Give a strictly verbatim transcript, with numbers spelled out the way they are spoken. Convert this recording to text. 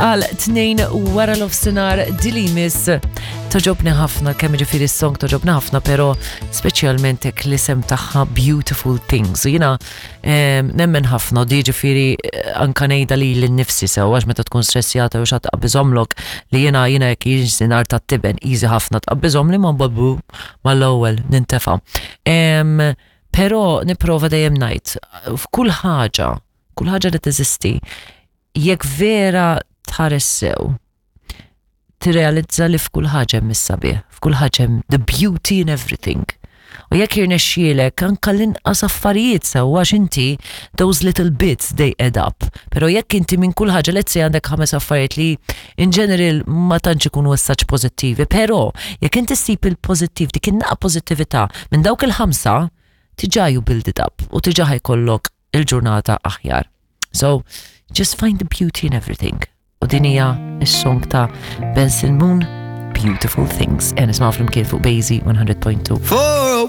għal tnejn wara nofsinhar. Dili miss togħġobni ħafna, kemm ġifieri s-song togħġobni ħafna, pero speċjalment hekk l-isem tagħha, Beautiful Things. U jiena em, nemmen ħafna di, ġifieri eh, anka ngħidha lili nnifsi sew, għax meta tkun stressjata u xat tqabbiżhomlok li jiena jiena jekk jiġi nar tat-tiben easy ħafna tqabbiżhom li ma babu mal-ewwel nintefa'. Em, Pero nipprova dejjem ngħid f'kull ħaġa, kull ħaġa li teżisti, jekk vera tħares sew, tirrealizza li f'kull ħaġa hemm is-sabiħ, f'kull ħaġa hemm the beauty in everything. U jekk jirnexxielek anka l-inqas affarijiet sew, għax inti those little bits, they add up. Pero jekk inti minn kull ħaġa, let's say għandek ħames affarijiet li in general ma tantx ikunu as such pożittivi, pero jekk inti ssib il-pożittiv, dik in-naqra pożittività minn dawk il-ħamsa, diġà you build it up u diġà ħa jkollok il-ġurnata aħjar. So, just find the beauty in everything. U din hija is-song ta' Benson Moon, Beautiful Things. E nismaw flimkien fuq Bazy one hundred point two. Four